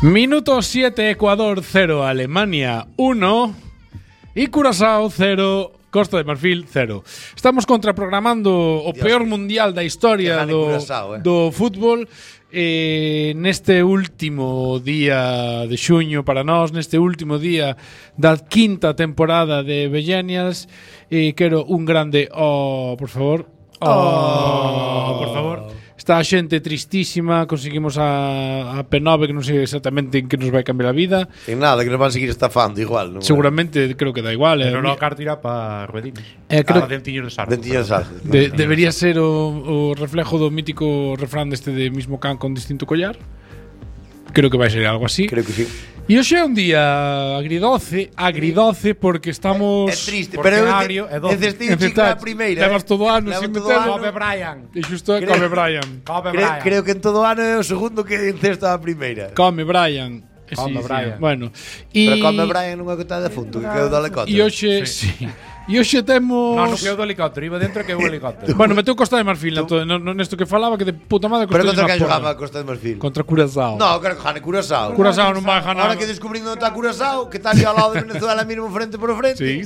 Minuto 7, Ecuador 0, Alemania 1 y Curazao 0, Costa de Marfil 0. Estamos contraprogramando o peor mundial da historia do fútbol neste último día de xuño para nós, neste último día da quinta temporada de Villenials. Quero un grande por favor. Por favor. Está a xente tristísima. Conseguimos a P9, que non sei exactamente en que nos vai cambiar a vida. En nada, que nos van a seguir estafando igual, non? Seguramente, creo que da igual. Pero no carto irá para Ruedines. Dentiños de Sardo. Debería ser o reflejo do mítico refrán deste de mismo can con distinto collar. Creo que vai ser algo así. Creo que sí. E hoxe é un día agridoce porque estamos... É triste, pero necesito chico a primeira. Levas todo ano sin meter. Kobe Bryant. E xusto é Kobe Bryant. Creo que en todo ano é o segundo que encesto a primeira. Kobe Bryant. Kobe Bryant. Bueno. Pero Kobe Bryant non é que está de defunto, que quedou do helicóptero. E hoxe, sí. E hoxe temos... Non quedou do helicóptero, iba dentro que o helicóptero. Bueno, meteu Costa de Marfil nesto que falaba, que de puta madre Costa de Marfil. Pero contra que jogaba Costa de Marfil? Contra Curazao. No, creo que gane Curazao. Curazao non vai ganar. Ahora que descubrín onde está Curazao, que está ali ao lado de Venezuela, mismo frente por frente. Sí,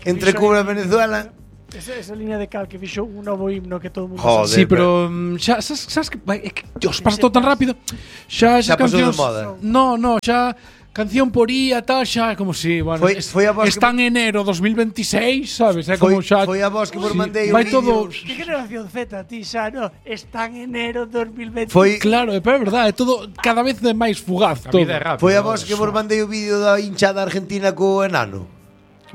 entre Cuba e Venezuela. Esa línea de cal que fixo un novo himno que todo o mundo sabe. Sí, pero xa sabes que Dios, pasa todo tan rápido. Xa esas cancións. No, xa canción por ía, tal, xa como si, bueno, foi a voz está en enero 2026, sabes? É como xa foi a voz que vos mandei vai todo. Que generación Z, ti xa, no, está en enero 2026. Foi claro, pero é verdade, é todo cada vez é máis fugaz todo. Foi a voz que vos mandei o vídeo da hinchada argentina co enano.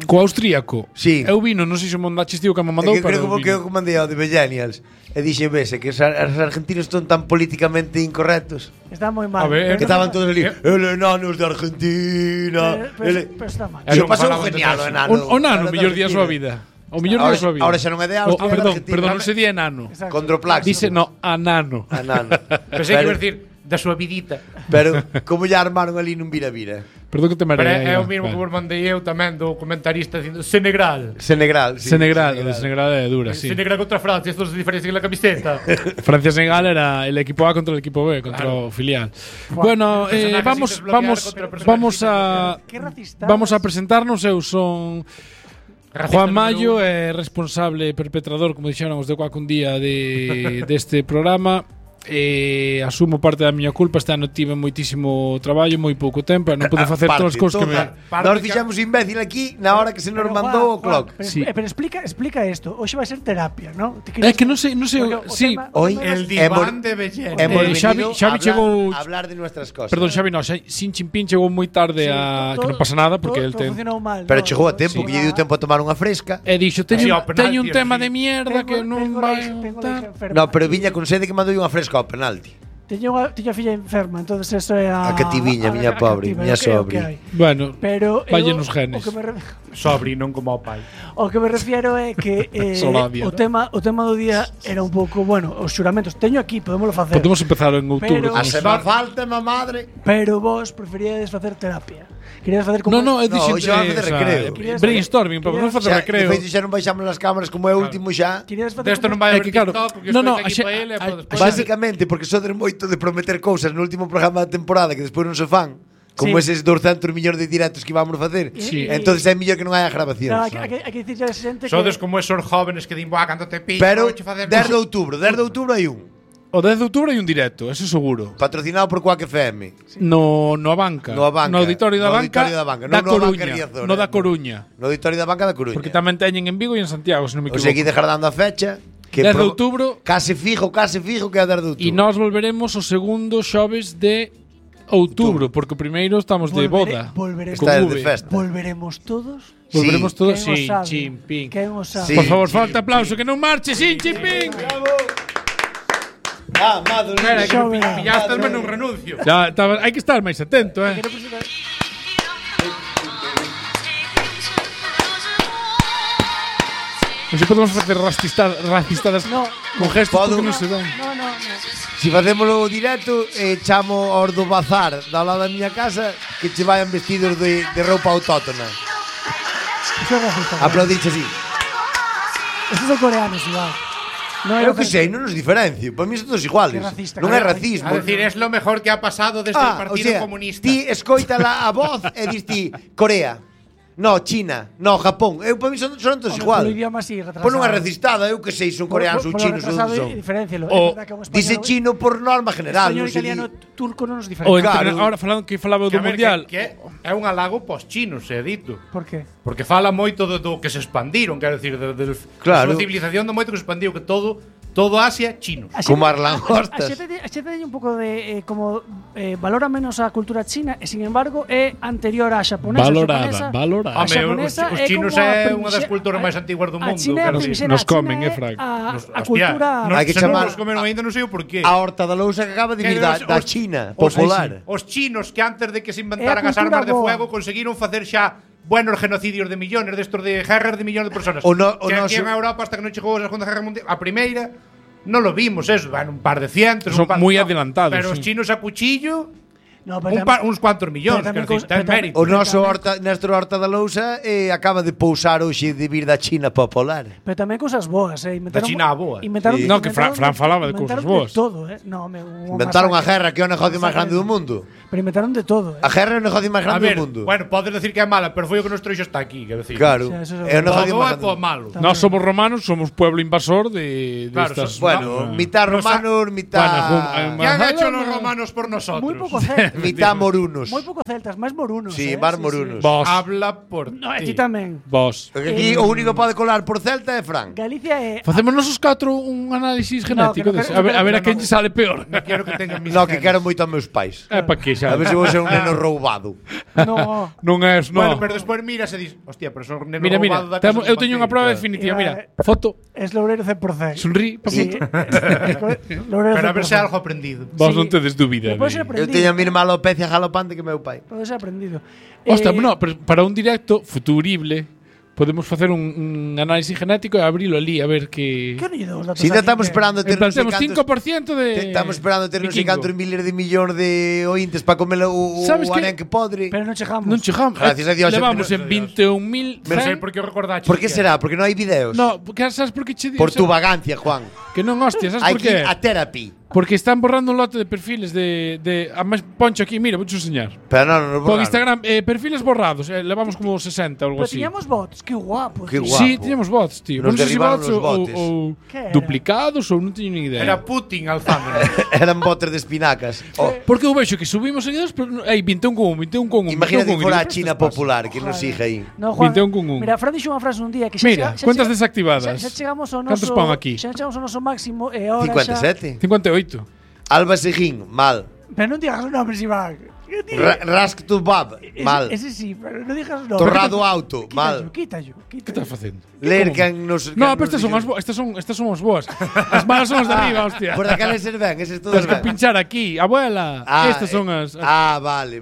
Co austríaco. Sí. Eu vino, non sei se mandaste tío que me mandou, pero creo que mandei ao de Villenials. E dixe, vese, que os argentinos están tan políticamente incorrectos. Está moi mal. Que estaban todos ali, el enano de Argentina. Pero está mal. Yo pasou genial o enano. O nano, mellor día da súa vida. O mellor día da súa vida. Ahora xa non é de Austria. Perdón, non se di enano. Condroplax. Dice, no, anano. Pensei que iba a decir da súa vidita. Pero como ya armaron ali nun vira-vira. Perdón que te marei. Pero é o mismo que vos mandei eu tamén do comentarista dicindo Senegal. Senegal é dura, sí. Senegal contra Francia, estos diferencian la camiseta. Francia-Senegal era el equipo A contra el equipo B, contra o filial. Bueno, vamos a presentarnos. Eu son Juan Mayo, responsable perpetrador, como dixéramos, de Cuac un día deste programa. Asumo parte da miña culpa. Este ano tive moitísimo traballo, moi pouco tempo, non pude facer todas as cousas que me... Nós fixamos imbécil aquí na hora que se nos mandou o clock. Pero explica isto. Hoxe vai ser terapia, ¿no? É que non sei, sí. Hoy el diván de Bellén. Xavi chegou a hablar de nuestras cosas. Perdón, Xavi, no, Sin Chimpín chegou moi tarde que non pasa nada porque el ten... Pero chegou a tempo, que lle deu tempo a tomar unha fresca. E dixo, teño un tema de mierda que non vai... No, pero viña con sede que mandou unha fresca ao penalti. Teño a filla enferma, entonces eso é a cativiña, miña pobre, miña sobri. Bueno, valle nos genes. Sobri, non como o pai. O que me refiero é que o tema do día era un pouco, bueno, os xuramentos. Teño aquí, podémoslo facer. Podemos empezar en outubro. A se me falta, má madre. Pero vos preferíades facer terapia. Querías facer como... No, dixen xa vai facer recreo. Brainstorming, pero non facer recreo. De feito, xa non baixamos nas cámaras como é o último xa. Desto non vai haber TikTok, porque isto é aquí para ele. Básicamente, porque sodes moito de prometer cousas no último programa da temporada que despois non se fan. Como eses 200 millóns de directos que íbamos facer. Entonces é mellor que non haya grabacións. Hai que dicirle a xente que... Sodes como esos jóvenes que din, boa, cando te pillo. Pero 10 de outubro hai un. O 10 de outubro hai un directo, eso seguro. Patrocinado por Cuac FM. No Abanca. No Auditorio da Banca. Da Coruña. No da Coruña. No Auditorio da Banca da Coruña. Porque tamén teñen en Vigo e en Santiago, se non me equivoco. O seguí dejar dando a fecha. 10 de outubro. Case fijo que é 10 de outubro. E nós volveremos o segundo xoves de outubro, porque o primeiro estamos de boda. Volveremos todos. Volveremos todos, sí, Chimpín. Por favor, falta aplauso, que non marche, Sin Chimpín. Madre mía. Espera, que pillaste menos un renuncio. Hai que estar máis atento, Non se podemos facer racistadas con gestos porque non se ven. No. Si facémolo directo, chamo aos do bazar da lado da miña casa que che vayan vestidos de roupa autóctona. Eso é racista. Aplaudirche así. Esos son coreanos, igual. Eu que sei, non nos diferencio. Para mí son todos iguales. Non é racismo. A decir, es lo mejor que ha pasado desde el Partido Comunista. Ti escoita a voz e dis ti Corea. No, China, no, Japón. Eu para mí son todos igual. Polo idioma así, retrasado. Pois non é recistada, eu que sei, son coreanos ou chinos ou son. Dice chino por norma general. Español, italiano, turco non nos O diferencia. ahora falando que falaba do mundial. Que é un halago pos chinos, é dito. Por qué? Porque fala moito do que se expandiron, quero decir, da Claro. civilización do moito que se expandiu, que todo Asia chino. Como Arlan Hortas. A xente un pouco de valora menos a cultura china e sin embargo é anterior á xaponesa. Valorada. Os chinos é unha das culturas máis antiguas do mundo. Nos comen, Frank. A cultura Hai que chamar nos comeron aínda, non sei o porqué. A horta da lousa que acaba de vir da China popular. Os chinos que antes de que se inventaran as armas de fuego conseguiron facer xa buenos genocidios de millones, destos de guerras de millones de personas. Que aquí en Europa, hasta que non chegou a Segunda Guerra Mundial, a primeira, non lo vimos, eso, van un par de cientos. Son moi adelantados. Pero os chinos a cuchillo, uns cuantos millóns, ten mérito. O noso Néstor Horta da Lousa acaba de pousar hoxe de vir da China popular. Pero tamén cousas boas, Da China a boa. No, que Fran falaba de cousas boas. Inventaron a guerra, que é o negocio máis grande do mundo. Pero inventaron de todo. A guerra é o negocio máis grande do mundo. Bueno, podes decir que é mala, pero foi o que nos trouxo hasta aquí, quero decir. Claro. É o negocio máis grande. Malo. Nós somos romanos, somos pueblo invasor de estas. Bueno, mitad romanos, mitad. ¿Qué han hecho los romanos por nosotros? Muy poco celtas. Mitad morunos. Muy poco celtas, máis morunos. Sí, máis morunos. Vos. Habla por No, ti. ti tamén. Vos. Porque aquí o único que pode colar por celta é Fran. Galicia é Facemos nosos 4 un análisis genético. A ver a quen lle sale peor. No quiero que tengan mis No, que quero moito aos meus pais. É pa que xa. A ver se vou ser un neno roubado. No. Non é, Bueno, pero despois miras e dis, hostia, pero son neno Mira, roubado da casa eu dos teño unha papéis, prova claro. definitiva, mira. Foto, Es loureiro 100%. sonrí, Sí. Loureiro 100%. Pero a ver se algo aprendido. Vos Sí. non tedes dúbida. Pode ser Eu aprendido. teño a mesma alopecia galopante que meu pai. Pode ser aprendido. Hostia, no, pero para un directo futurible podemos facer un análisis genético e abrilo ali a ver que Que oñe dos datos Si aquí estamos que- esperando ter En plan, non sei temos cantos 5% de Estamos esperando ter non sei vikingo. cantos miles de millóns de ointes para comer o Sabes que- arenque podre. Pero non chegamos. Non chegamos. Gracias a Dios, Levamos pero- en 21.000. Non sei por que o recordaches. Por que será? Porque non hai videos. No, porque sabes por que che Por tu vagancia, Juan. Que non, hostia, sabes Hai por que qué? ir a therapy. Porque están borrando un lote de perfiles de a máis poncho aquí, mira, vou enseñar. Pero non Por Instagram, perfiles borrados, levamos como 60 ou algo Pero así. tiñamos bots, que guapo. Que tío. guapo. Sí, tiñamos bots, tío. Nos Non sei se derribaron bots os ou, botes. ou Que era? duplicados ou non teño ni idea. Era Putin alzándonos. Eran botes de espinacas. Porque eu vexo que subimos seguidores, pero hai 21,1, 21,1. Imagínate que 21,1, fora a digo, China "Pero estas popular, que nos siga aí. No, Juan, 21,1. Mira, Fran dixo unha frase un día que xa Mira, cuentas desactivadas. Xa chegamos ao Cantos noso pon aquí? Xa chegamos ao noso máximo e ahora 57. 58. Alba Seguín, mal. Pero non digas os nombres, Iván. Rask to Bab, mal. Ese sí, pero non digas os nombres. Torrado Auto, mal. Quítallo. Que estás facendo? Ler quen nos No, pero estas son as boas, estas son as boas. As malas son as de arriba, hostia. Por daqueles ser ben, eses todos Tens que ben. pinchar aquí, abuela. Estas son as vale.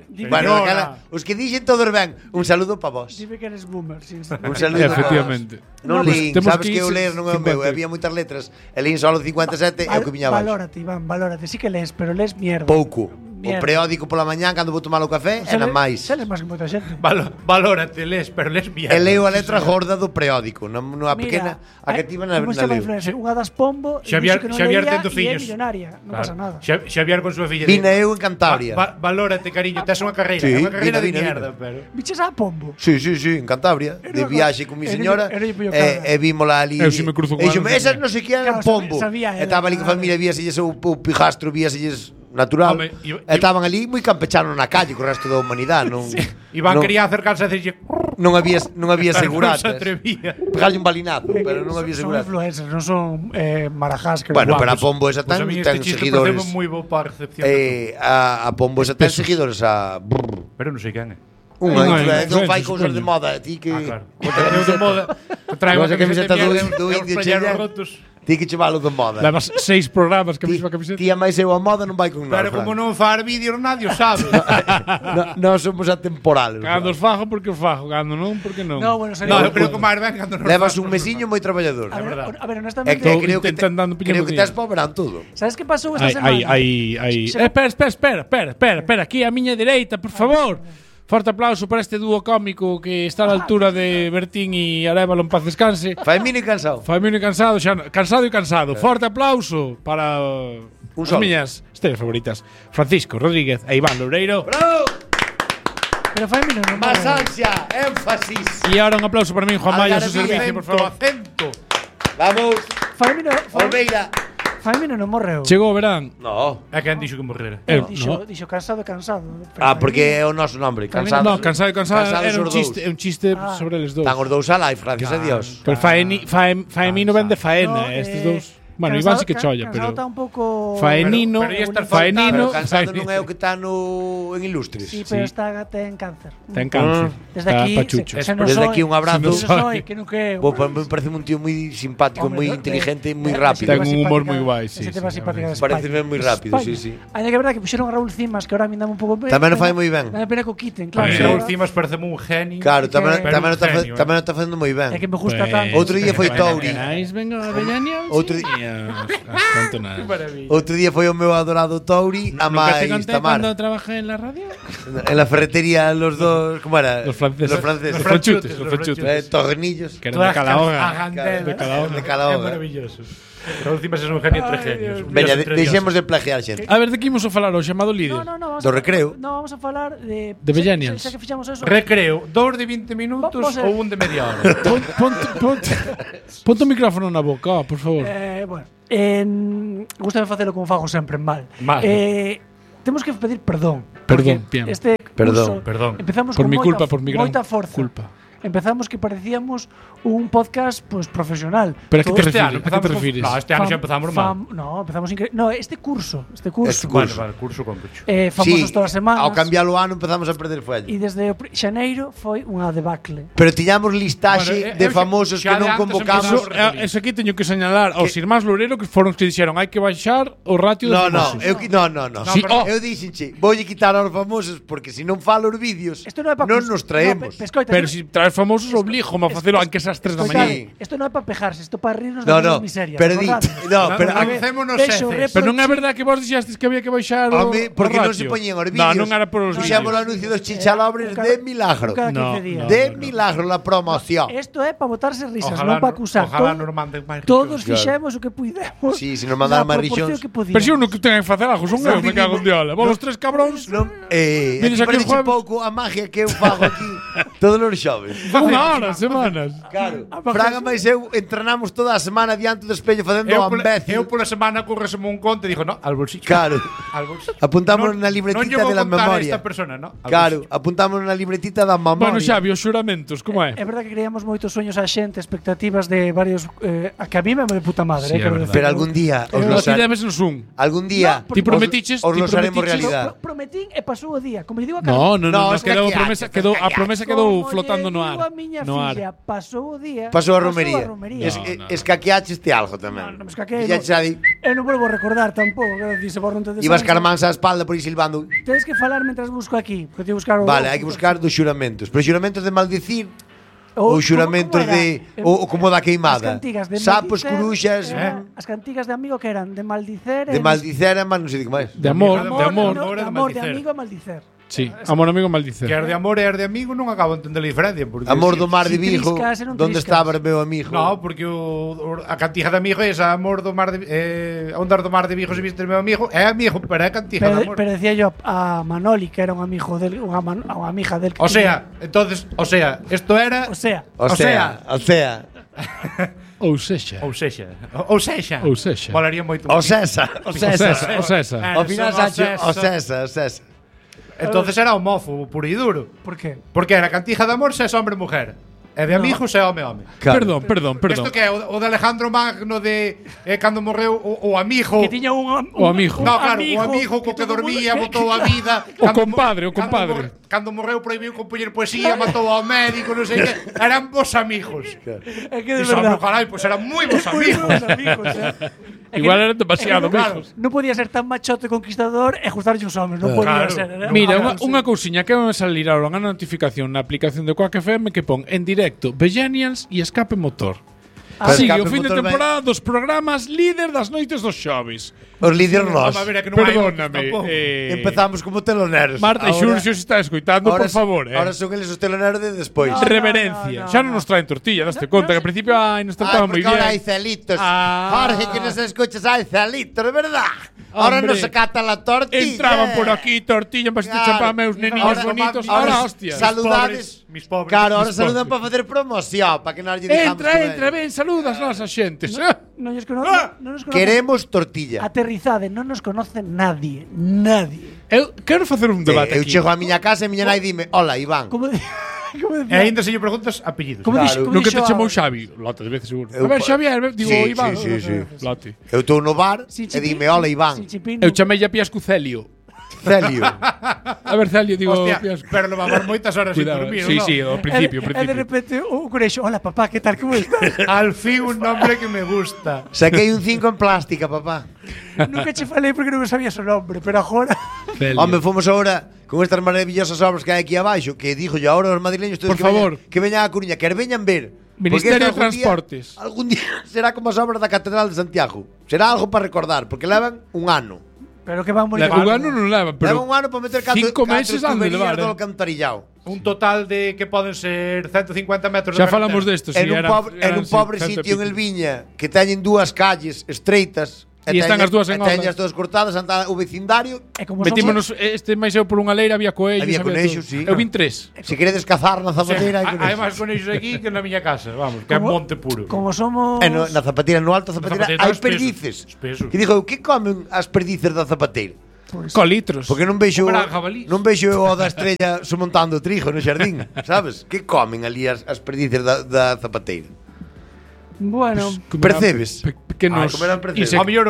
Dime Bueno, que daquela, os que dixen todos ben. Un saludo para vos. Dime que eres boomer, sí. Un saludo para vos. Efectivamente. Non No, pues, lín, temos sabes que que eu ir ler non é o meu, 50. había moitas letras. E lín solo 57 e o que viña abaixo. Valórate, Iván, valórate. Sí que lees, pero lees mierda. Pouco. O Mierda. periódico pola mañán cando vou tomar o café e nada máis. Sales máis que moita xente. Valórate, les, pero les bien. E leo a letra gorda do periódico, nunha pequena, a que tivan na como se chama leo. influencer? Unha das Pombo, Xavier e tendo é fillos. millonaria, non pasa nada. Xavier con súa filla. Vina eu en Cantabria. Valórate, cariño, tes unha carreira, Sí, unha carreira de vina. mierda, pero Biches a Pombo. Sí, en Cantabria, de viaxe con mi señora era yo cabra. e vímola ali. Eu si me cruzo con E dixome, ela, esas non sei que eran Claro, pombo. sabía E ela, estaba ali con claro. familia, víaselles o pijastro, víaselles natural. Home, E estaban ali moi campechanos na calle co resto da humanidade, non. Iván non, quería acercarse a decirlle non había pero non se seguratas. atrevía. Pegarlle un balinazo, pero non había Son seguratas. influencers, non son marajás que Bueno, guapos. pero a pombo esa Pues a ten mí este ten chiste seguidores. pareceu moi bo para a recepción. de A pombo esa ten seguidores a todo. Pero non sei quen é. unha Unha influencer, non fai influencer, cousas de supoño. moda, ti que Claro. O traeu de moda. Trae Vas unha a camiseta camiseta de do mierda, indio os chella. pañaros rotos. ti que chevalo de moda. Levas 6 programas que Ti, mesma camiseta. ti a máis eu a moda non vai con nós. Pero como non far vídeos nadie o sabe. Nós somos atemporales. Cando os fajo porque os fajo, cando non porque non. No, bueno, No, eu creo que o máis ben cando nos Levas faz un nosotros. mesiño moi traballador. A ver, É honestamente, que Estou creo que intentando pillar creo un que día. tes para o verán todo. sabes que pasou esta semana? Espera, aquí a miña dereita, por favor. Forte aplauso para este dúo cómico que está a la altura de Bertín y Arévalo en paz descanse. Faemino e Cansado. Faemino e Cansado, xa, cansado e cansado. Forte aplauso para as miñas estrellas favoritas. Francisco Rodríguez e Iván Loureiro. ¡Bravo! Pero Faemino non Más ansia, énfasis. E ahora un aplauso para min, Juan Maya, su servicio, por favor. Acento. Vamos. Faemino Olveira. Faemino non morreu. Chegou o verán. No. É quen dixo que morrera. Dixo cansado. Porque é o noso nombre, Cansado. No, cansado era un chiste sobre eles dous. Están os dous alive, gracias a Dios. Pero Faemino ven de faena, estes dous. Bueno, Iván sí que cholla, pero Cansado está un pouco Faenino, Faenino, Cansado non é o que está en Ilustres. Sí, pero ten cáncer. Ten cáncer. Desde aquí, desde aquí un abrazo. Me parece un tío moi simpático, moi inteligente, moi rápido. Ten un humor moi guai, sí. Parece moi rápido, sí. Hai que verdade que puxeron a Raúl Cimas, que ahora me dame un pouco ben. Tamén o fai moi ben. Dame pena que o quiten, claro. Raúl Cimas parece un genio. Claro, tamén o está facendo moi ben. É que me gusta tanto. Outro día foi Touri. Outro día Outro día foi o meu adorado Touri a máis Tamar. Cando trabajé en la radio? En la ferretería los dos, ¿cómo era? Los franceses. Los franchutes. Tornillos. Que eran de Calahorra. De Calahorra. É maravilloso. Raúl Cimas é un genio entre genios. Veña, deixemos de plagiar xente. A ver, de que imos a falar hoxe, chamado líder? No, do recreo. No, vamos a falar de Millennials. Xa que fixamos eso. Recreo, 2 de 20 minutos ou un de media hora. Ponte o micrófono na boca, por favor. Bueno, gústame facelo como fago sempre, mal. Temos que pedir perdón. Perdón, bien. Este curso, Perdón. Empezamos por con mi culpa, por mi gran moita forza. culpa. Empezamos que parecíamos un podcast pues profesional. Pero a que te refires? No, este ano xa empezamos mal. No, empezamos increíble. No, este curso. Vale, curso con pecho. Famosos todas as semanas. Ao cambiar o ano empezamos a perder fuelle. E desde xaneiro foi unha debacle. Pero tiñamos listaxe de famosos que non convocamos. Eso aquí teño que señalar aos irmáns Loureiro que foron os que dixeron hai que baixar o ratio dos famosos. No. Eu dixenche, voulle quitar aos famosos porque se non falo os vídeos non nos traemos. Pero se traes famosos obligo a facelo aunque esas 3 da mañá. Isto non é para pejarse, isto para rirnos das miserias. Pero pero avancémonos heces. Pero non é verdade que vos dixastes que había que baixar o porque non se poñían os vídeos. Non era por os vídeos. Fixamos o anuncio dos chichalobres de milagro. De milagro la promoción. Isto é para botarse risas, non para acusar. Todos fixemos o que puidemos. Si, se nos mandaron máis rixóns. Pero se uno que ten que facer algo, son eu, me cago en diola. Vos os 3 cabróns. Vienes aquí un pouco a magia que eu fago aquí todos os xoves. Semanas. Claro. Fraga máis eu entrenamos toda a semana diante do espello facendo o imbécil. Eu pola semana correseme un conto e dixo, no, al bolsillo. Claro. Apuntamos na libretita de la memoria. Esta persona, no? Claro, apuntamos na libretita da memoria. Bueno, Xavi, os xuramentos, como é? É verdade que creamos moitos sueños a xente, expectativas de varios a que a mí me de puta madre, pero algún día os lo haremos un. Algún día ti prometiches, os lo haremos realidade. Prometín e pasou o día, como digo a No, quedou a promesa quedou flotando no ar. No ar. Pasou o día. Pasou a romería. Escaqueaste algo tamén. Non escaquei. Eu non volvo a recordar tampouco, dice por non te ibas carmansa a espalda por aí silbando. Tens que falar mentras busco aquí, porque buscar Vale, hai que buscar dos xuramentos. Pero xuramentos de maldicir ou xuramentos de ou como da queimada. Sapos, coruxas, as cantigas de amigo que eran de maldicer, mas non sei de que máis. De amor, de amigo e maldicer. Sí, amor amigo maldicer. Que as de amor e as de amigo non acabo de entender a diferencia porque amor do mar de Vigo, onde estaba o meu amigo? No, porque a cantija de amigo é esa amor do mar de ondar do mar de Vigo se viste o meu amigo, é amigo, pero é cantija de amor. Pero decía yo a Manoli que era un amigo del unha amiga del. O sea, esto era O sea. Ou sexa. Molaría moito. O César. Ao final o César. Entonces era homófobo puro e duro. Por qué? Porque era cantija de amor se é hombre e mujer. E de amigos é home. Claro. Perdón. Isto que é o de Alejandro Magno de cando morreu o amigo. Que tiña un amigo. No, claro, o amigo co que dormía, botou a vida. O compadre. Cando morreu prohibiu compoñer poesía, matou ao médico, non sei que. Eran vos amigos. É que de verdade. Carai, pois eran moi vos amigos. Igual eran demasiado amigos. Non podía ser tan machote conquistador e gustarlle os homes, non podía ser. Mira, unha cousiña que me salir ahora unha notificación na aplicación de Quack FM que pon en directo Millennials e escape motor. Sí, o fin de temporada dos programas líder das noites dos xoves. Os líderes nós. Perdóname. Empezamos como teloneros. Marta e Xurxo se está escoitando, por favor. Ahora son eles os teloneros de despois. Reverencia. Xa non nos traen tortilla, daste conta que al principio nos trataban moi bien. Ahora hai celitos. Jorge, que nos escuchas, hai celitos, de verdad. Ahora nos acata la tortilla. Entraban por aquí, tortilla, en vasito de champán, meus neniños bonitos. Ahora, hostia. Saludades. Mis pobres. Claro, ahora saludan para facer promoción, para que nos lle dejamos. Entra, ven, saludas nosas xentes. Non nos conoce. Queremos tortilla. Aterrizade, non nos conoce nadie. Eu quero facer un debate Eu aquí. chego a miña casa e miña nai dime, hola, Iván. Como E ainda se lle preguntas apellidos. Nunca te chamou Xavi. Lote de veces seguro. A ver, Xavier, digo Iván. Sí. Lote. Eu estou no bar e dime, hola, Iván. Eu chamei a Piascu Celio. Celio. A ver, Celio, digo Hostia, pero levamos moitas horas sin dormir, Sí, ¿no? sí, ao principio. E de repente o Curexo, hola papá, que tal, como estás? Al fin un nombre que me gusta. Saquei un 5 en plástica, papá. Nunca che falei porque non sabía o nombre, pero agora Home, fomos agora con estas maravillosas obras que hai aquí abaixo, que dijo yo ahora os madrileños todos Por favor. que veñan a Coruña, que veñan ver. Ministerio de Transportes. Algún día será como as obras da Catedral de Santiago. Será algo para recordar, porque levan un ano. pero que van moi Un ano non levan, pero Levan un ano para meter 5 meses han de levar, do alcantarillado. Un total de que poden ser 150 metros Xa de falamos carretera. desto, si En un pobre sitio en El Viña que teñen dúas calles estreitas E están as dúas en obra. teñen as todas cortadas, anda o vecindario. metímonos máis eu por unha leira, había coellos. Había conexos, sí. Eu vin 3. Se queredes cazar na zapateira, Hai máis conexos aquí que na miña casa, vamos, que é monte puro. Como somos na zapateira, no alto da zapateira, hai perdices. Espesos. Que digo, que comen as perdices da zapateira? Colitros. Porque non vexo Comerán jabalís. non vexo o da estrella somontando trigo no xardín, sabes? Que comen ali as perdices da zapateira? Bueno, Percebes? Pequenos comerán percebes. Ao mellor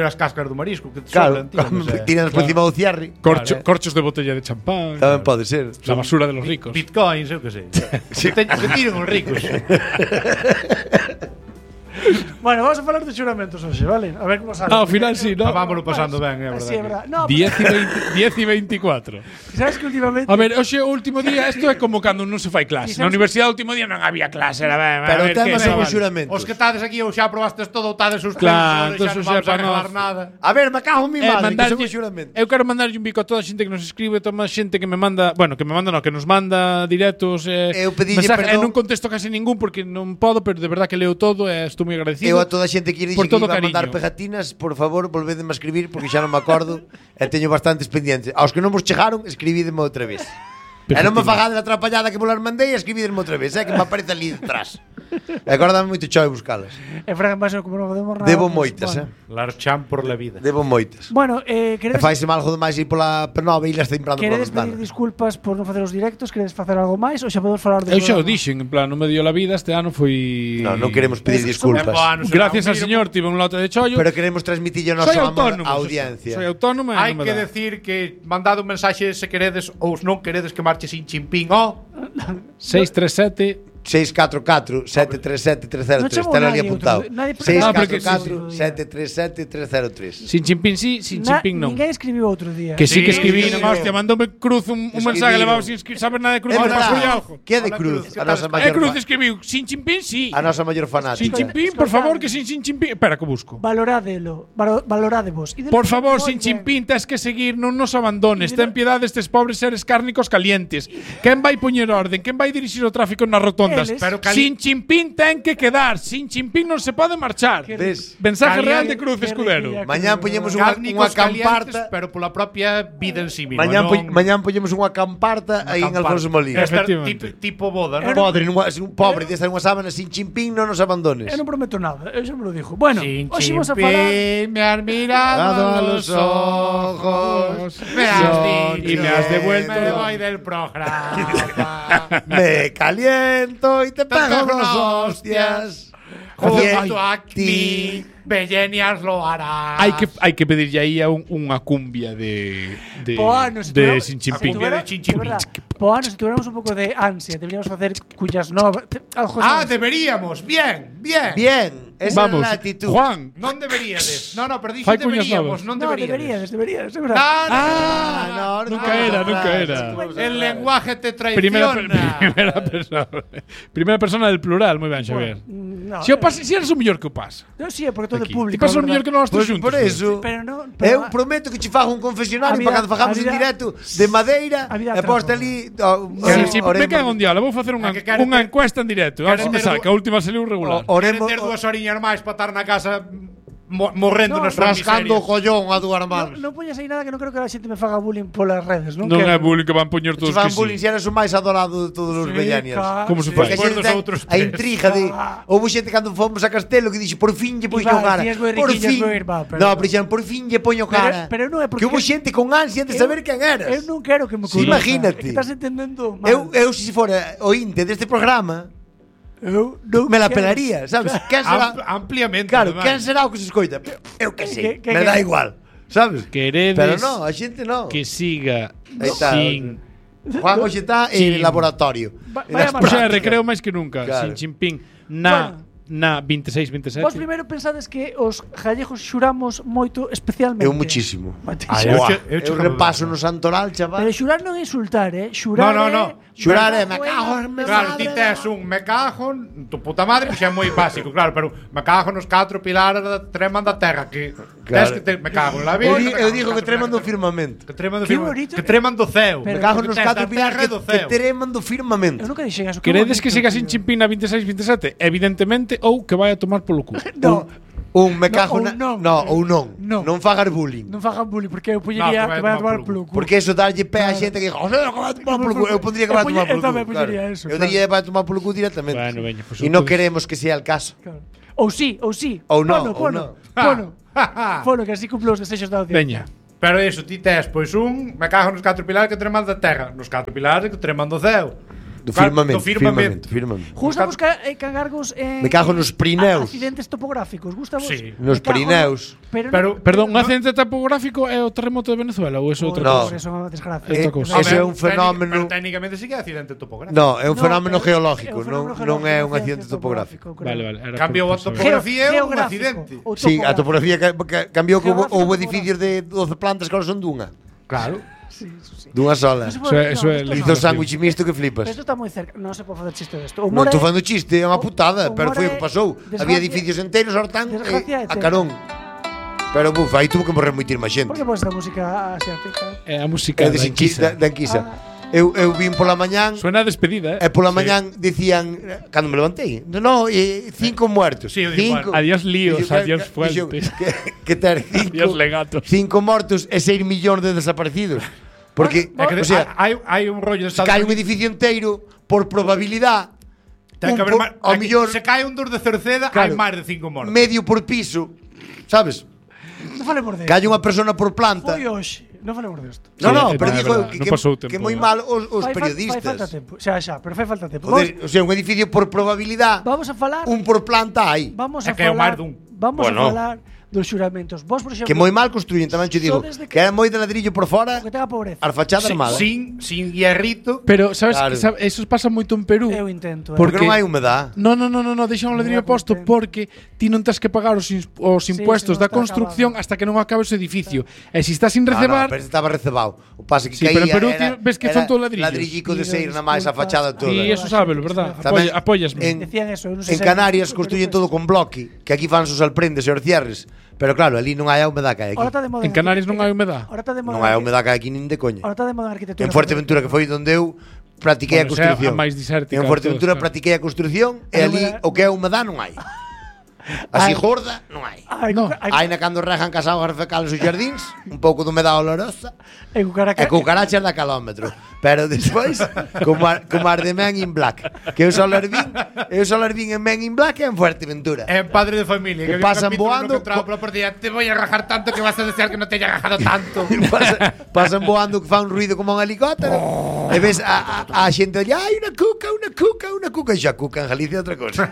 as cáscaras do marisco que te Claro, sobran, tío, non sei. tiran por encima do cierre. corchos de botella de champán. Tamén pode ser. La basura de los ricos. Bitcoins, eu que sei. Que tiren os ricos. bueno, vamos a falar de xuramentos hoxe, vale? A ver como sale. Ao final sí, ¿no? Vámonos pasando ben, é Sí, é verdade. verdad. No, 10 y 24. sabes que últimamente A ver, hoxe o último día, isto é como cando non se fai clase. Na universidade o último día non había clase, era ben. Pero o tema son os xuramentos. Os que tades aquí ou xa probastes todo, ou tades suspenso, Claro, xa entonces non vamos xa a para regalar nós. nada. A ver, me cago en mi madre, que son mandarlle- os xuramentos. Eu quero mandarlle un bico a toda a xente que nos escribe, toda a xente que me manda, bueno, que nos manda directos, Eu pedille mensajes, perdón. non contesto casi ningún porque non podo, pero de verdad que leo todo e estou moi agradecido. Eu a toda a xente que lle por dixen que todo iba a mandar cariño. pegatinas, por favor, volvedeme a escribir porque xa non me acordo e teño bastantes pendientes. Aos que non vos chegaron, escribídeme outra vez. E non me fagades a atrapallada que vos las mandei, escribídeme outra vez, que me aparece ali detrás. E agora dame moito chove buscalas. e Fran Basso como non podemos nada. Debo pues, moitas, bueno. Larchan por la vida. Debo moitas. Bueno, E queredes faise mal algo demais ir pola Penova e las temprano pola Queredes pedir ventana. disculpas por non facer os directos? Queredes facer algo máis ou xa podemos falar de Eu xa o dixen, en plan, non me dio la vida, este ano foi... Non queremos pedir disculpas. Gracias al señor, tive un lote de chollo. Pero queremos transmitirlo a Soy nosa autónomo, audiencia. Soy autónomo e Hai non me que dá. decir que mandado un mensaxe se queredes ou non queredes que marche sin chimpín, 637 644 737 303. Non chamo Está ali nadie apuntado. outro- nadie- 644 737 303. sin chimpín sí, sin chimpín non. Ninguén escribiu outro día. Que sí que Sí, escribí, sí, non, hostia, mandoume Cruz un mensaje, levaba sin saber nada de Cruz, É me pasou verdad. algo. Que é de Hola, Cruz? Cruz, A nosa que tal? maior Cruz fa- escribiu sin chimpín sí. a nosa maior Sin fanática. chimpín, por favor, que sin chimpín. Espera, que busco. Valorádelo, valorádevos. Por favor, sin chimpín, tes que seguir, non nos abandones. Ten piedade destes pobres seres cárnicos calientes. Quen vai poñer orden? Quen vai dirixir o tráfico nas rotondas? Eles. Pero Sin chimpín ten que quedar. Sin chimpín non se pode marchar. Ves? Mensaje Caliente, real de Cruz qué Escudero. riquilla. Mañán poñemos unha cárnicos camparta. calientes, pero pola propia vida en sí misma. Mañán poñemos unha camparta aí en Alfonso Molina. Efectivamente. Tipo boda, non? Un pobre, desta unha sábana sin chimpín, non nos abandones. Eu non prometo nada, eu xa me lo dixo. Bueno, Sin hoxe vamos a falar chimpín, me has mirado a los ojos, me has dicho y me has devuelto. me voy del programa. Me caliento y te pego dos hostias. Junto a ti, Bellenias lo hará. Hai que pedirlle aí a unha cumbia de po ano, se de tuviéramos- sin se chimpín. tuviera- De Chin de verdad, po ano, se tuviéramos un pouco de ansia, deberíamos facer cuyas novas, algo Ah, así. deberíamos. Bien, bien. Bien, esa Vamos, é a actitud. Juan. Non deberíades. No, pero dixo Fai cuñas deberíamos, novas. non No, deberíades. deberíades, de verdad. Ah, no, Nunca era. El lenguaje te Primera traiciona. persona del plural, moi ben, Xavier. No, Si o pasa, si eres o mellor que o pasa. Non, si, é porque todo é público. Ti pasas o mellor que nós todos xuntos. Por eso. Eu prometo que che fago un confesionario para cando fagamos en directo de madeira e posta ali. Si me cago un diálogo, vou facer unha encuesta en directo. A ver se me saca, a última saliu regular. Queren ter 2 horiñas máis para estar na casa morrendo nas súas rascando o collón a dúas mans. Non poñas aí nada que non creo que a xente me faga bullying polas redes, non? Non é bullying que van poñer todos que si. Van bullying se eres o máis adorado de todos os vellanias. Como se fai? A intriga de houve xente cando fomos a Castelo que dixo por fin lle poño cara. Por fin. No, pero dixeron por fin lle poño cara. Pero non é porque que houve xente con ansia de saber quen eras. Eu non quero que me conozca. Imagínate. Estás entendendo mal. Eu se fora ointe deste programa me la pelaría, sabes? Quen será? Ampliamente. Claro, quen será o que se escoita? Eu que sei, me dá igual, sabes? Queredes pero no, a xente no. Que siga sin Juan hoxe está en laboratorio. O sea, recreo máis que nunca, sin chimpín. Na 26, 27. Vos primeiro pensades que os gallegos xuramos moito especialmente. Eu muchísimo. Eu repaso no santoral, chaval. Pero xurar non é insultar, xurar No. Xurar é me cago en Claro, ti tes un me cago en tu puta madre, que xa é moi básico, claro, pero me cago nos 4 pilares da treman da terra, que tes que me cago en la vida. Eu digo que treman do firmamento. Que treman do ceo. Me cago nos 4 pilares que treman do firmamento. Eu nunca dixen eso. Queredes que siga sin chimpín na 26, 27? Evidentemente, ou que vai a tomar polo cu. Un me cago na... ou non. Non fagas bullying. Non fagas bullying, porque eu poñería que vai a tomar polo cu. Porque eso darlle pé a xente que diga, que vai a tomar polo cu. Eu pondría que vai a tomar polo cu. Eu diría que vai a tomar polo cu directamente. Bueno, veña, pues e non queremos que sea el caso. Ou sí. Ou non. Fono, que así cumplo os desexos da Veña. audiencia. Pero iso, ti tes, pois me cago nos 4 pilares que treman da terra, nos 4 pilares que treman do ceo. Do firmamento. Gusta buscar cangargos en... Me cago nos Pirineus. Accidentes topográficos, gusta vos? Sí. Nos Pirineus. Pero perdón, un accidente topográfico é o terremoto de Venezuela ou é outra cosa? No, eso é unha desgracia. Ese é un fenómeno... Pero técnicamente sí que é accidente topográfico. No, é un fenómeno geológico, non é un accidente topográfico. Vale. Cambiou a topografía e un accidente. Sí, a topografía cambiou que houve edificios de 12 plantas que ahora son dunha. Claro. Sí. Dunha sola. Eso é hizo sándwich misto que flipas. Pero isto está moi cerca. Non se pode facer chiste desto. Non estou facendo chiste, é unha putada, pero foi o que pasou. Había edificios enteros, ahora están a carón. Pero aí tuvo que morrer moitísima xente. Por que pones a música asiática? É a música da Anquisa. Eu vim pola mañán. Suena a despedida, E pola mañán dicían, cando me levantei, 5 muertos. Sí, 5. Adiós líos, adiós fuentes. Que ter 5 legatos. 5 mortos e 6 millóns de desaparecidos. Porque, o sea, hai un rollo de se cae un edificio inteiro por probabilidade. Ten que haber se cae un dos de Cerceda, hai máis de 5 mortos. Medio por piso, sabes? Non falemos de cae unha persona por planta. Foi hoxe. Non falemos desto. No, pero digo que moi mal os periodistas. Fai falta tempo. Xa, pero fai falta tempo. O sea, un edificio por probabilidade. Vamos a falar. Un por planta hai. Vamos a falar dos xuramentos. Vos, por exemplo, que moi mal construyen, tamén che digo, que era moi de ladrillo por fora, que tenga pobreza. As fachadas armadas. Sin hierrito. Pero sabes, eso pasa moito en Perú. Eu intento. Porque non hai humedad. No, deixan o ladrillo posto porque ti non tens que pagar os impuestos da construcción hasta que non acabe o edificio. E se estás sin recebar, pero estaba recebado. O pase que pero en Perú ves que son todo ladrillos. Ladrillico de seir na máis a fachada toda. E eso sábelo, verdad? Apóyasme. En Canarias construyen todo con bloque, que aquí fan os alprendes e os cierres. Pero claro, ali non hai a humedad que hai aquí. En Canarias non hai humedad. Non hai a humedad que hai aquí nin de coña. Ahora está de moda a arquitectura. En Fuerteventura, que foi onde eu practiquei a construcción. En Fuerteventura practiquei a construcción e ali o que é a humedad non hai. Así gorda non hai. Hai na cando rejan cas augas fecales os jardíns, un pouco de humedad olorosa e cucarachas da calómetro. Pero despois, como as de Men in Black, que eu só las vin en Men in Black e en Fuerteventura. En Padre de Familia, que pasan voando te voy a rajar tanto que vas a desear que no te haya rajado tanto. Pasan voando que fa un ruido como un helicóptero. E ves a xente allá, hai unha cuca. E xa cuca en Galicia outra cosa.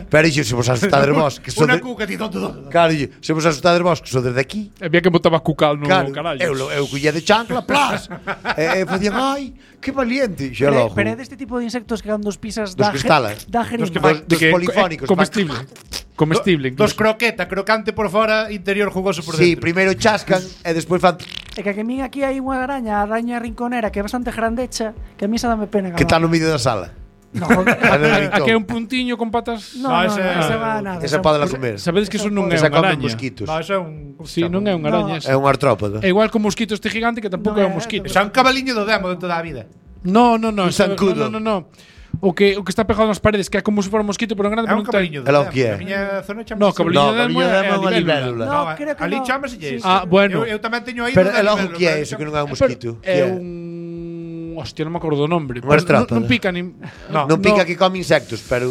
Pero iso se vos asustades vos, que una cuca ti todo. Claro, se vos asustades vos, que so desde aquí. Había que botaba cucal no carallo. Eu collía de chancla, plas. E facían, ai, que valiente. Pero é deste tipo de insectos que cando os pisas da jeringa. Dos polifónicos. Comestible. Dos crocante por fora, interior jugoso por dentro. Sí, primeiro chascan e despois fan. É que a min aquí hai unha araña rinconera que é bastante grandecha, que a mí xa dame pena. Que está no medio da sala. No, que é un puntiño con patas. no, esa va nada. Esa podela comer. Sabedes que eso non é Esa unha come araña. mosquitos. No, eso é un... Sí, non é unha araña. É un artrópodo. É igual que o mosquito este gigante que tampouco é un mosquito. Esa é un cabaliño do demo de toda a vida. No. Un zancudo. No. O que está pegado nas paredes, que é como se fora un mosquito, pero en grande É un non ten. cabaliño do É lo demo. que é. A miña zona chamase No, así. cabaliño No, de demo cabaliño de demo é é unha a libélula. libélula. No, creo que ali no. chámase Sí, eso. Ah, bueno. Eu tamén teño aí Pero do é logo libélula, que é pero eso que non é un mosquito. É Que un... Hostia, non me acordo do nombre. Un artrópodo. Non pica nin... Non pica que come insectos, pero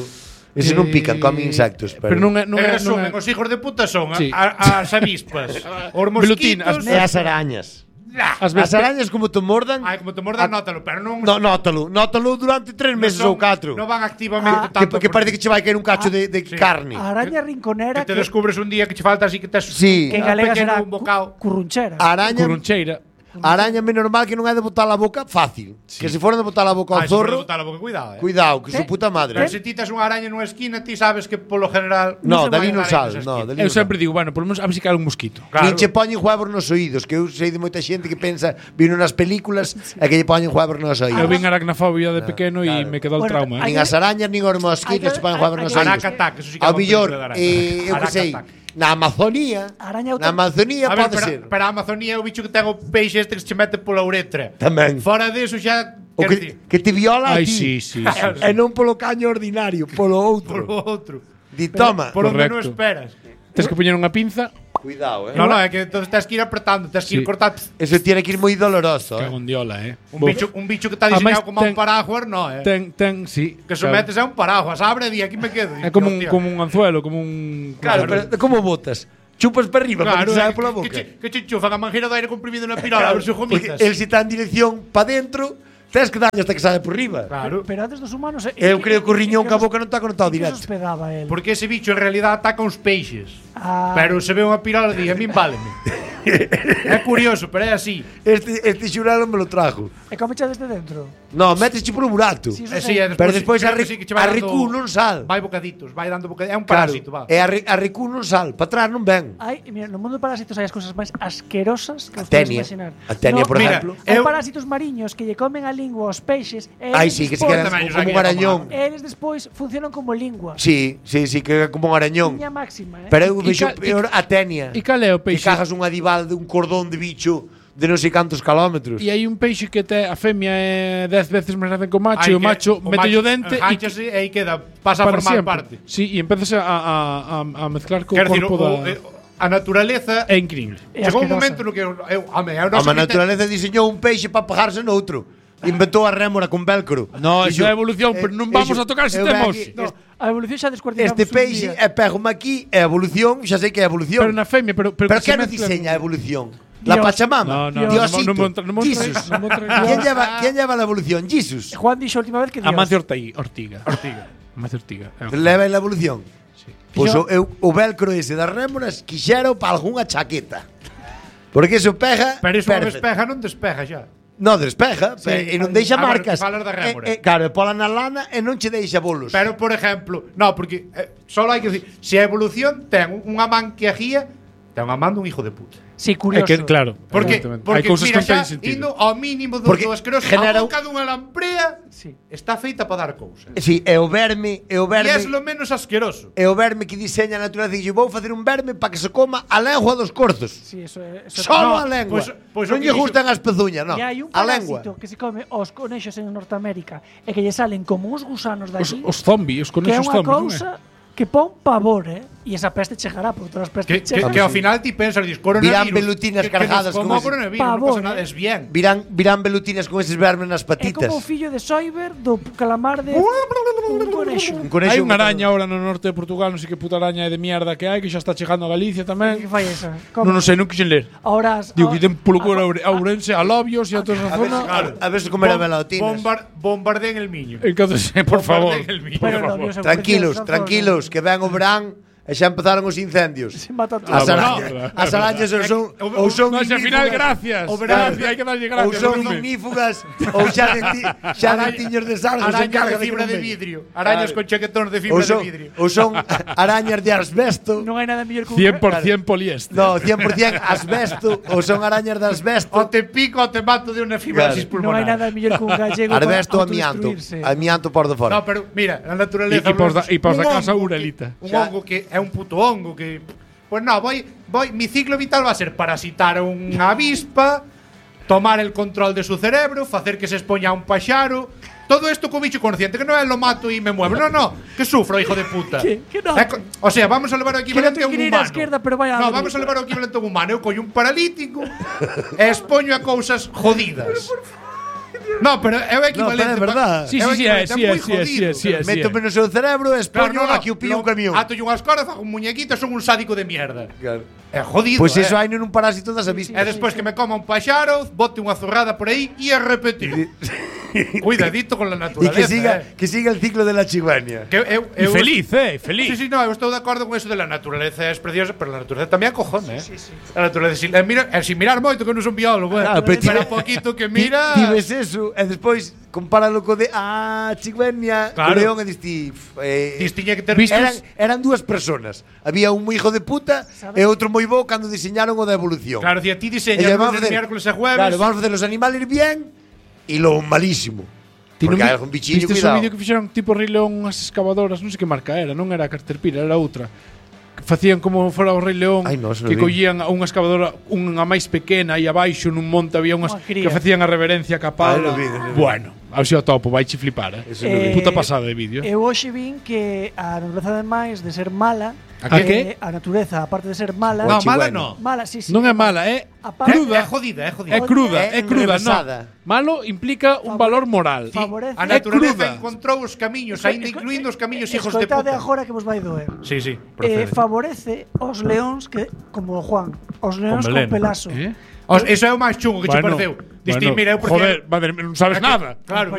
ese non pican, come insectos, Pero non é... En resumen, os hijos de puta son Sí. as avispas, os mosquitos... E as arañas. As As arañas como te mordan. Ai, como te mordan, nótalo, pero non... No, nótalo durante 3 meses ou 4. Non van activamente tanto... Que parece que che vai caer un cacho de carne. A araña rinconera Que te descubres un día que che falta así que tes... Sí. que en galega pequeno será un bocado. currunchera. Araña, Curuncheira. araña é normal que non é de botar a boca fácil. Que se fora de botar a boca ao Ai, se zorro, podes botar a boca, cuidado, cuidado, que su puta madre. Pero se ti tes unha araña nunha esquina, ti sabes que polo general... No, se dali vai non dar sal, aí nesa no, esquina. dali Eu non sempre digo, bueno, por lo menos a ver se cae un mosquito. Claro. Nin che poñen huevos nos oídos, que eu sei de moita xente que pensa, vino nas películas e que lle poñen huevos nos Eu oídos. vin aracnofobia de pequeno e me quedou el Bueno, trauma. Nin as arañas nin os mosquitos che poñen huevos nos oídos. Aracatac, eso sí que é Ao unha millor, película de eu que sei, Aracatac. na Amazonía, Araña na Amazonía A ver, pode ser. pero a Amazonía é o bicho que ten o peixe este que se mete pola uretra. Tamén. Fora deso xa... O quer dicir, que te viola a Ai, ti. sí. E non polo caño ordinario, polo outro. polo outro. Di, toma. Por onde non Correcto. esperas. Tens que poñer unha pinza, Cuidado, No, é que entonces tens que ir apretando, tens que ir Sí. cortando. Eso tiene que ir moi doloroso, cago en diola, Un bicho que está Ademais, diseñado como un paraguas, no, Ten, sí. Que sometes a un paraguas, abre e di, aquí me quedo. É como un anzuelo, como un... Claro, pero como botas? Chupas para arriba, para que Claro, se sabe pola boca. que che enchufan a mangueira de aire comprimido na pirola, a ver se o Porque gomitas. el se está en dirección para dentro, tens que darlle hasta que sabe por riba. Claro. Pero antes dos humanos... Eu creo que o riñón ca boca non está conectado Que se directo. hospedaba él. Porque ese bicho en realidad ataca uns peixes. Ah. Pero se ve unha pirola e di, a min váleme. É curioso, pero é así. Este xuralo me lo trajo. E come xa desde dentro? No, metes polo burato. Sí, eso Sí, sei. Pero despois a, creo que sí que che vai a dando- recu non sal. Vai bocaditos, vai dando bocaditos. É un Claro, parásito, va. e a recu non sal. Para atrás non ven. Ai, mira, no mundo de parásitos hai as cousas máis asquerosas que A os podes tenia. imaginar. A tenia, por mira, exemplo. Hai Eu- parásitos mariños que lle comen a lingua aos peixes e Ai, eles sí, que se despois- quedan Tamén, como un arañón. eles despois funcionan como lingua. Sí, que é como un arañón. Liña máxima, Pero eu E vexo ca- peor a tenia. E cal é o Que peixe? cajas un adival de un cordón de bicho de non sei cantos kilómetros. E hai un peixe que a femia é 10 veces máis grande que o macho, e o macho mete o dente enganchase e aí queda, pasa a para formar sempre. parte. Sí, e empezas a mezclar co Quer dicir, corpo da... a naturaleza É increíble. É chegou un asquerosa. momento no que A naturaleza diseñou un peixe para pegarse noutro. Inventou a rémora con velcro. No, Dixo, iso é evolución, pero non vamos a tocar ese eu tema ven hoxe. aquí, No, a evolución xa descuartizamos Este peixe é pégome aquí, é evolución, xa sei que é evolución. Pero na femia, pero Pero que se que non mezcla- diseña a evolución? La Dios. Pachamama, No, Diosito, non me Jesus. ¿Quién lleva la evolución? Jesus. Juan dixo a última vez que Dios. Amancio Ortiga. Amancio Ortiga. Leva la evolución. Sí. Pois Yo- o velcro ese das rémoras quixero para algunha chaqueta. Porque eso pega Pero iso non perfecto. despeja, non despeja xa. No, despeja, e non deixa Ah, bueno, marcas. falas da rémora. Claro, e pola na lana e non che deixa bolos. Pero, por exemplo, no, porque solo hai que decir, se a evolución ten unha man que agía, ten unha man dun hijo de puta. Sí, É curioso. que, claro. Porque, evidentemente. porque hai cousas mira, que non xa, teñen sentido. indo ao mínimo do Porque asqueroso, genera a boca dunha lamprea Sí. está feita para dar cousas. Si, é o verme, E é lo menos asqueroso. é o verme que diseña a natureza e vou facer un verme para que se coma a lengua dos corzos. Sí, eso é. Eso Solo No, a lengua. pois non o lle que gustan as pezuñas, non. E hai un A lengua. parásito que se come os conexos en Norteamérica e que lle salen como uns gusanos de allí, Os zombies, os que é conexos unha zombies, non é? cousa que pon pavor, E esa peste chegará, porque todas as pestes chegan. Que ao final ti pensas, dis, coronavirus. Virán velutinas cargadas como con ese- coronavirus, non Pavor, pasa nada, es bien. Virán velutinas con eses vermes nas É patitas. como o fillo de Soiber do calamar de un conexo. Un conexo Hai unha que- araña ahora no norte de Portugal, non sei que puta araña de mierda que hai, que xa está chegando a Galicia Que tamén. fai esa? Non sei, non quixen ler. Ahora Digo que ten polo culo a Ourense, a Lobios e a toda esa A ver, zona. a ver se comer a velutinas. Bombardeen el miño. Entonces, por favor. Bombardeen el miño. Pero por no, favor. Dios, Tranquilos, son tranquilos, que ven o verán e xa empezaron os incendios. As arañas ou son ao final gracias. Hai que darlle gracias. Ou son ignífugas ou xa tiños de sal, arañas de fibra de vidrio. Arañas con chaquetóns de fibra de vidrio. Ou son arañas de asbesto. Non hai nada mellor que 100% poliéster. No, 100% asbesto. Ou son arañas de asbesto. O te pico ou te mato de unha fibrosis pulmonar. Non hai nada mellor que un gallego. Asbesto, amianto por de fora. No, pero mira, a naturaleza e pos da casa urelita. Un hongo que é un puto hongo que pues no, mi ciclo vital va a ser parasitar a unha avispa, tomar el control de su cerebro, facer que se expoña a un paxaro. Todo esto con bicho consciente, que non é lo mato e me muevo. No, que sufro, hijo de puta. Que no. O sea, vamos a levar o equivalente a un humano. No, vamos a levar o equivalente a un humano. Eu collo un paralítico e expoño a cousas jodidas. No, pero é o equivalente. No, pero é verdad. Sí. Métome no seu cerebro e expoño a que o pille un camión. Ato unhas cordas, fago un muñequito, son un sádico de mierda. Claro. É jodido. Pois iso hai nun parásito das avispas. E despois que me coma un paxaro, bote unha zurrada por aí e a repetir. Cuidadito con la naturaleza. Que siga el ciclo de la cigüeña. Feliz. Sí, no, eu estou de acordo con eso de la naturaleza, es preciosa, pero la naturaleza tamén acojona, Sí. La naturaleza, sin mirar moito, que non son biólogo, pero un poquito que mira. Ti ves eso, e despois compáralo co de cigüeña, claro. O león e diste. Tiña que ter eran dúas personas. Había un moi hijo de puta e outro moi bo cando diseñaron o da evolución. Claro, ti diseñas lunes, miércoles e jueves. Claro, vamos a facer os animales bien e lo malísimo. Porque hai algún bichiño, cuidado. Viste o vídeo que fixeron tipo Rei León, unhas excavadoras, non sei que marca era, non era Caterpillar, era outra. Facían como fora o Rei León, que collían unha excavadora, unha máis pequena, e abaixo nun monte había unhas que facían a reverencia capada. Bueno, ao xeo topo, vai che flipar, puta pasada de vídeo. Eu hoxe vin que a natureza ademais de ser mala, a que? A natureza, aparte de ser mala, no, mala no. Mala, sí. Non é mala, é cruda. É jodida. É cruda, non. Malo implica un valor moral. A natureza encontrou os camiños, aínda incluindo os camiños hijos de puta. Escoitade agora que vos vai doer. Sí, favorece os leóns que, como o Juan, os leóns con pelazo. Eso é o máis chungo que che pareceu. Diste, mira, eu joder, madre, non sabes nada. Claro,